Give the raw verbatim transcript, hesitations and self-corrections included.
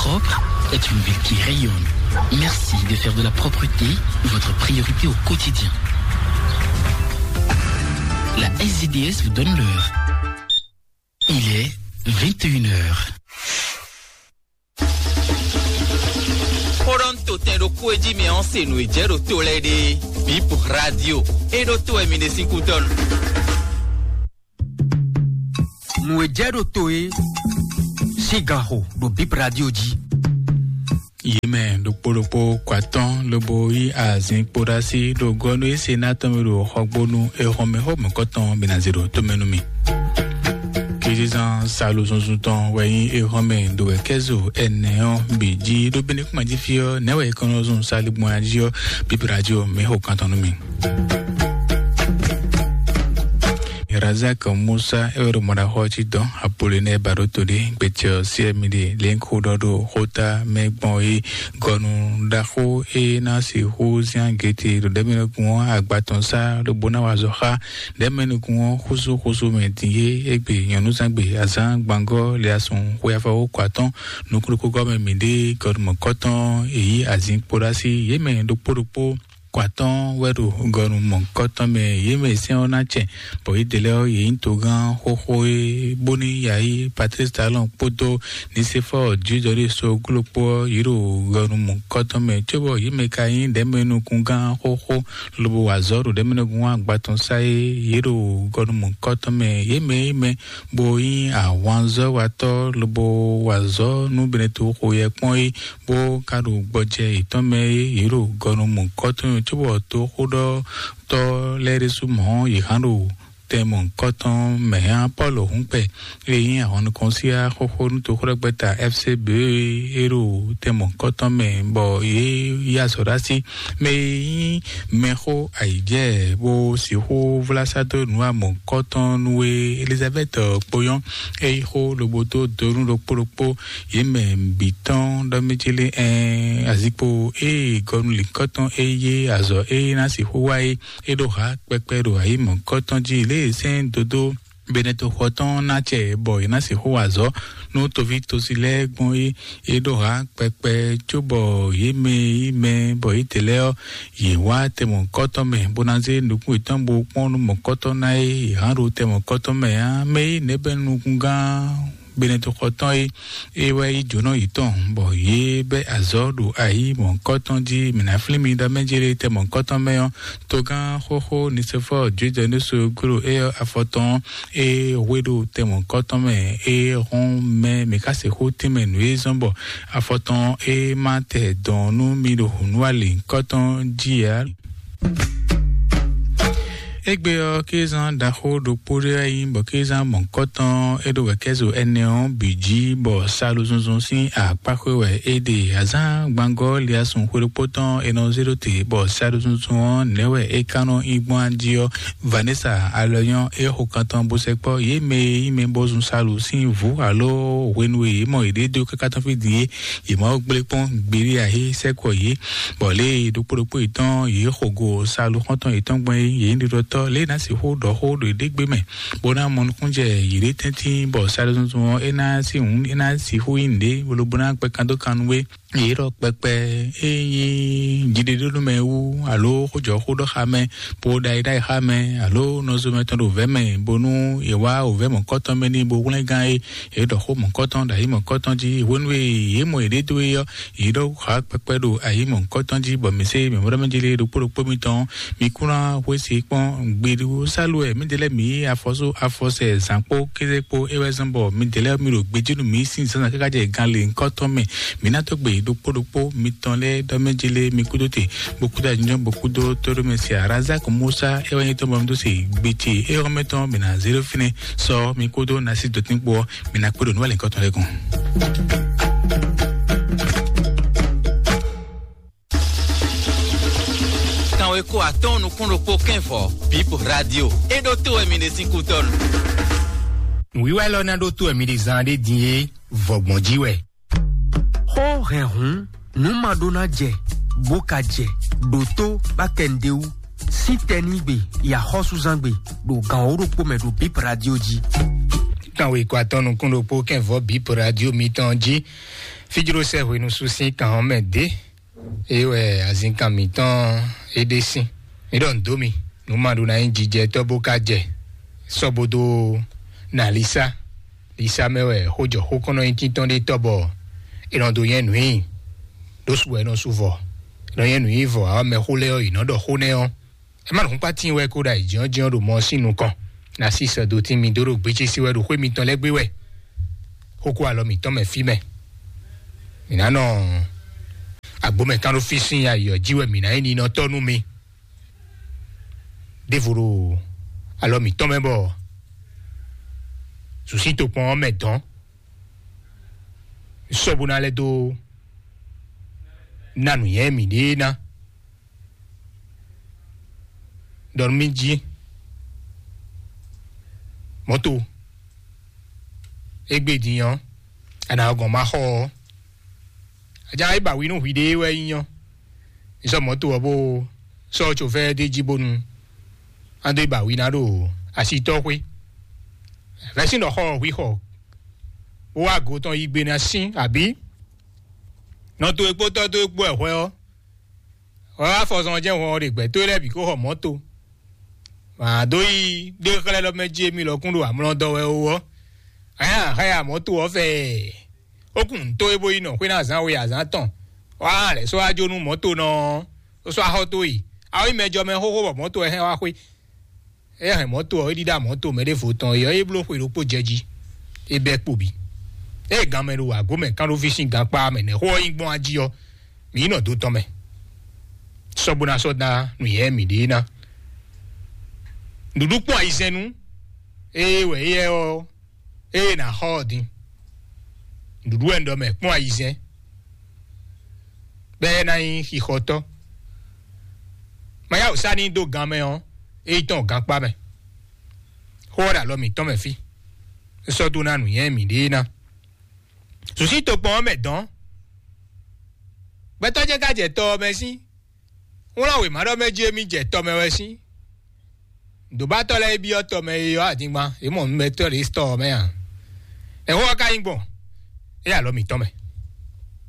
Propre est une ville qui rayonne. Merci de faire de la propreté votre priorité au quotidien. La S D D S vous donne l'heure. Il est vingt et une heures. Xó ɖɔ un to tɛn ɖo kú e jí mɛ ɔ́ se nǔ e jɛ ɖo to lɛ́ɛ ɖe. Bip Radio. E ɖo to wɛ mi ɖe sín kútɔ́ nu. Nǔ e jɛ ɖo to e sín ganxo ɖo Bip Radio jí. Yě mɛ ɖokpó ɖokpó kɔ atɔ́n lobo yí azin kpó ɖó así ɖo gɔ́ nú é se ná tɔn mì ɖo xɔgbónú e hɔn mɛ xó mɔ̌kɔtɔn bǐ ná zé ɖo tomɛ nú mì. Kizizan salu zunzun tɔn wɛ nyí e hɔn mɛ ɖo wɛ kɛ́zo ɛnɛ ɔ́ bǐ jí ɖó bíní kúma jí fí ɔ́ nɛ̌ wɛ è kɔn nɔ zun saligbɔn jí ɔ́ bíbí radio mɛ xó kan tɔn nú mì. Razak Musa e wɛ ɖo mɔɖaxɔ ɔ́ jí dɔn Apolinɛ Baɖoto ɖe gbecɛ ɔ́ sí ɛmi ɖe lɛ̌nxó ɖɔ ɖo xóta mɛ gbɔn é gɔnu ɖaxó e ná sixú zán gete ɖo ɖɛ̌mɛnukun ɔ́ agba tɔn sá ɖo bó ná wa azɔ̌ xá ɖɛ̌mɛnukun ɔ́ xúsú xúsú mɛ din é égbé nyɔ̌núzangbe azán gbangɔ́ liasun xwe afɔwú kɔ atɔ́n nukúnukúgɔ́ mɛ mǐ ɖe gɔnu mɔ̌kɔtɔn èyí azin kpó ɖó así yě mɛ ɖokpó ɖokpó kɔ atɔ́n wɛ ɖo gɔnu mɔ̌kɔtɔn mɛ yě mɛ sɛ́n ɔ́ ná cɛ bɔ yědɛɛ lɛ́ɛ ɔ́ yě nyí togán xóxó é bóní yayi Patrice Talon kpódó Nisefɔ Judɔri Soglo kpó ɔ́ yě ɖo gɔnu mɔ̌kɔtɔn mɛ cóbɔ yě mɛ ka nyí ɖɛ̌mɛnukungán xóxó lobo wa azɔ̌ ɖo ɖɛ̌mɛnukungán agbatɔn sá é yě ɖo gɔnu mɔ̌kɔtɔn mɛ yě mɛ yě mɛ bó nyí ahwanzɔ́watɔ́ lobo wa azɔ̌ nú Benɛto xo yɛ kpɔ́n é bó ka ɖo gbɔjɛ yětɔn mɛ é yě ɖo gɔnu mɔ̌kɔtɔn cóbɔ toxóɖɔtɔ́ lɛ́ɛ ɖésú mɔ̌ yě hán ɖo tɛn mɔ̌kɔtɔn mɛ hɛn Pɔ́lu hǔnkpɛ e nyí ahɔnnukɔnsiya xóxó nú toxóɖɔgbɛ́ta F C B e ɖo tɛn mɔ̌kɔtɔn mɛ bɔ yě yí azɔ̌ ɖó así mɛ e nyí mɛxó ayǐjɛ bó sixú vlá sá dó nǔ amɔ̌kɔtɔn nú e Elizabɛ́ti kpó nyɔ́ é yí xó lobo dó donu ɖokpó ɖokpó yě mɛ bǐ tɔn ɖɔ mɛ ce lé ɛn azikpo ée gɔnu lǐnkɔtɔn é yé azɔ̌ é ná sixú wa é é ɖo ha kpɛkpɛ ɖo ayǐ mɔ̌kɔtɔn jí lě e sɛ́n dodó Benɛto xɔ tɔn ná cɛ bɔ è nǎ sixú wa azɔ̌ nú toví tosi lɛ́ɛ gbɔn é é ɖó ha kpɛkpɛ cóbɔ yě mɛ yí mɛ bɔ yětɛn lɛ́ɛ ɔ́ yě wá tɛmɔ̌kɔ́tɔn mɛ bó ná zé nukún yětɔn bó kpɔ́n nú mɔ̌kɔ́tɔn ná é yě hán ɖo tɛmɔ̌kɔ́tɔn mɛ ǎ mɛ é nɛ̌ bɛ́ nukúngán Benɛto xɔ tɔn é é wɛ yí jǒnɔ yětɔn bɔ yě bɛ́ azɔ̌ ɖo ayǐ mɔ̌kɔ́tɔn jí mǐ ná flín mi ɖɔ mɛ jélé tɛ mɔ̌kɔ́tɔn mɛ ɔ́ togán xóxó Nisefɔ Judɛnusu gló é ɔ́ afɔtɔn é hwe ɖo tɛ mɔ̌kɔ́tɔn mɛ é hɔn mɛ mǐ ká sixú tínmɛ nǔ e zɔ́n bɔ afɔtɔn é má tɛ dɔn nú mi ɖo nǔ alǐkɔ́tɔn jí ǎ. Égbé ɔ́, kézán ɖaxó ɖokpó ɖé wɛ nyí bɔ kézán mɔ̌kɔtɔn é ɖo wɛ̌kɛ́zo ɛnɛ ɔ́ bǐ jí, bɔ saɖózúnzún sín akpáxwé wɛ é ɖe. Azǎn gbangɔ́ liasun xwe ɖokpó tɔn è nɔ zé ɖó te, bɔ saɖózúnzún ɔ́ nɛ̌ wɛ é ka nɔ nyí gbɔn jí ɔ́, Vanessa alɔ nyɔ́ é xo kan tɔn bó sɛkpɔ́ yě mɛ e nyí mɛ bó zun salu sín vǔ alo hwenu e yě mɔ yěɖée dó káká tɔn fí din é, yě ma wó gblé kpɔ́n gbeɖé ǎ é sɛkpɔ́ yě. Bɔ lě e ɖokpó ɖokpó yětɔn yě xo go salu xɔ́ntɔn yětɔn gbɔn é, yě nyí ɖiɖɔtɔ́ lě e ná sixú ɖɔ xó ɖo yěɖée gbe mɛ, bó ná mɔ nukúnjɛ yěɖée tɛ́ntin, bɔ saɖózúnzún ɔ́ é ná sí hǔn é ná sixú nyí nǔɖé lobo ná kpɛ kan dó kan nú é. Yě ɖɔ kpɛkpɛ é nyí jiɖeɖónúmɛ wú alo xójɔxóɖɔxamɛ bó ɖo ayǐɖayǐxamɛ alo nɔzomɛ tɔn ɖo vɛ̌ mɛ, bónú è wá wǒvɛ́ mɔ̌kɔ́tɔn mɛ n'i bó hwlɛ́ngán é. Yě ɖɔ xó mɔ̌kɔ́tɔn ɖo ayǐ mɔ̌kɔ́tɔn jí hwenu e yě mɔ yěɖée dó é ɔ́, yě ɖɔ xá kpɛkpɛ ɖo ayǐ mɔ̌kɔ́tɔn jí, bɔ mǐ se mǐmlɔ́mɛ jí lě ɖokpó ɖokpó mitɔn. Mi kún ná xwé se kpɔ́n gbeɖú sálu wɛ mǐdɛɛ lɛ́ɛ mǐ yí afɔ sú afɔ sɛ zǎn kpó kéze kpó é wɛ zɔ́n bɔ mǐdɛɛ lɛ́ɛ mǐ ɖo gbejí nú mǐ sín zǎnzǎn káká jɛ gan lěhunkɔtɔn mɛ. Mǐ ná dó gbe ɖokpó ɖokpó mitɔn lɛ́ɛ ɖɔ mɛ jí lé mi kúdó te, bó kúdó anyinjɔ́n, bó kúdó tóɖó mɛ se Razak Musa é wɛ nyí tɔn bɔ mi dó se gbe ce é xɔ́mɛ tɔn mǐ ná zé ɖó fínɛ́ sɔ mi kúdó ná sí dɔtín kpó ɔ́, mǐ ná kpé ɖo nǔ wɛ lěhunkɔtɔn lɛ́ɛ gɔ́n. Kanwe ko atɔ́ɔ́n nukún ɖokpó kɛ́n vɔ̌, Bip Radio. É ɖó tó wɛ mi ɖe sín kútɔ́nu. Nǔwiwa élɔ́ ná ɖó tó wɛ mi ɖe zan ɖé din é, vɔ̌gbɔn jí wɛ. Xó hɛn hǔn, nǔ ma ɖó ná jɛ, bó ka jɛ, ɖǒtó bá kɛ nǔɖé wú. Sín tɛnígbe, yi axɔ́súzángbe, ɖo gan wǒ ɖokpó mɛ ɖo Bip Radio jí. Kan wěkwatɔ́ nukún ɖokpó kɛnvɔ́ bǐ po radio mitɔn jí. Fíjló sɛ́ hwenu sú sín kan ɔ́ mɛ dé. É wɛ azinkan mǐtɔn é ɖe sín. Mi ɖɔ nǔ dó mi, nǔ ma ɖó ná nyí jijɛ tɔ́ bó ka jɛ. Sɔ́ bó dó na Lisa. Lisa mɛ wɛ xójɔ xó kɔn nɔ nyí tíntɔ́n ɖé tɔ́ bɔ è nɔ dó nyɛ nǔ nyi. Ɖó su wɛ è nɔ su vɔ. È nɔ nyɛ nǔ nyi vɔ, awɔ mɛ xó lɛ́ɛ ɔ́, è nɔ ɖɔ xó nɛ́ ɔ́. Ɛ má nǔkpá tín wɛ kó ɖo ayǐjínjɔ́n ɖo mɔ sín nukɔn. Na sí sɛ́dó tín mi dó ɖo gbéjé sí wɛ ɖo xwé mitɔn lɛ́ɛ gbé wɛ. Xókó alɔ mǐtɔn mɛ fí mɛ. Mǐ ná nɔ agbǒ mɛ kán ɖó fí sín ayǐ ɔ́ jí wɛ mǐ ná nyí ninɔtɔ́ nú mi. Ɖěvo ɖo alɔ mǐtɔn mɛ bɔ zǔsí tokpɔn ɔ́ mɛ dɔn. Sɔ́ bó ná lɛ́ dó ná nǔnywɛ́ mǐɖée ná. Ɖɔ nú mì jí. Mɔ̌to. Égbé din ɔ́, a nǎ gɔn ma xɔ ɔ́. Ajá é ba wi nú hwiɖée wɛ nyí ɔ́. Ní sɔ́ mɔ̌to ɔ́ bó sɔ́ cofɛ́ d'é jí bónú a dó yi ba wi ná ɖo asitɔ́xwé. Vɛ̌sin ɖɔ xɔ ɔ́ hwi xɔ bó wá go tɔn yí gbe ná sín abǐ nɔ towe kpó tɔ́ towe kpó wɛ hwɛ ɔ́. Hwɛ wá fɔzɔn jɛ́n hɔn ɔ́ ɖe gbɛ̌ towe lɛ́ɛ bǐ kó xɔ mɔ̌to. Wǎn dó yi ɖé xlɛ́ lɔ mɛ jí émí lɔkún ɖo amlɔ dɔ wɛ ó ɔ́. Hɛn a hɛn a mɔ̌to ɔ́ fɛ ó kun nǔ towe bó yi nɔ xwé ná azǎn we azǎn tɔn. Wá lɛ̌ sɔ́ wá jó nú mɔ̌to nɔ ɔ́, ó sɔ́ axɔ́ towe. A ó nyí mɛ jɔ mɛ xóxó bɔ mɔ̌to wɛ hɛn wá xwé. É hɛn mɔ̌to ɔ́, é ɖíɖá mɔ̌to mɛ ɖěvo tɔn é ɔ́, é bló xwe ɖokpó jɛ jí, é bɛ́ kpo bǐ. Ée ganmɛ ɖo wǎgó mɛ kán ɖó fí sín gankpá mɛ nɛ̌ xó ɔ́ nyí gbɔn ají ɔ́, mǐ yi nɔ dó tɔn mɛ. Sɔ́ bó ná sɔ́ ná nǔnyɛ mǐɖée ná. Nǔɖuɖu kpɔ́n ayizɛ́n nú ée wɛ éyɛ́ ɔ́, ée nǎ xɔ ɔ́ din. Nǔɖuɖu wɛ un ɖɔ mɛ kpɔ́n ayizɛ́n, bɔ é ná nyí xixɔtɔ́. Ma yá wǔ sá n'i dó gan mɛ ɔ́, é yi tɔn gankpá mɛ. Xó ɔ́ ɖo alɔ mǐtɔn mɛ fí. É sɔ́ dó ná nǔnywɛ́ mǐɖée ná. Zǔsí tokpɔn ɔ́ mɛ dɔn. Gbɛtɔ́ ce ka jɛ tɔ ɔ́ mɛ sín. Wlán wěma ɖɔ mɛ jí émí jɛ tɔ mɛ wɛ sín. Dǒbátɔ́ lɛ́ɛ byɔ́ tɔ mɛ e ylɔ́ adingban, yě mɔ nǔmɛtɔ́ ɖě tɔ ɔ́ mɛ a? Ɛhɔ́ ɔ́ ka nyí gbɔn, é alɔ mǐtɔn mɛ.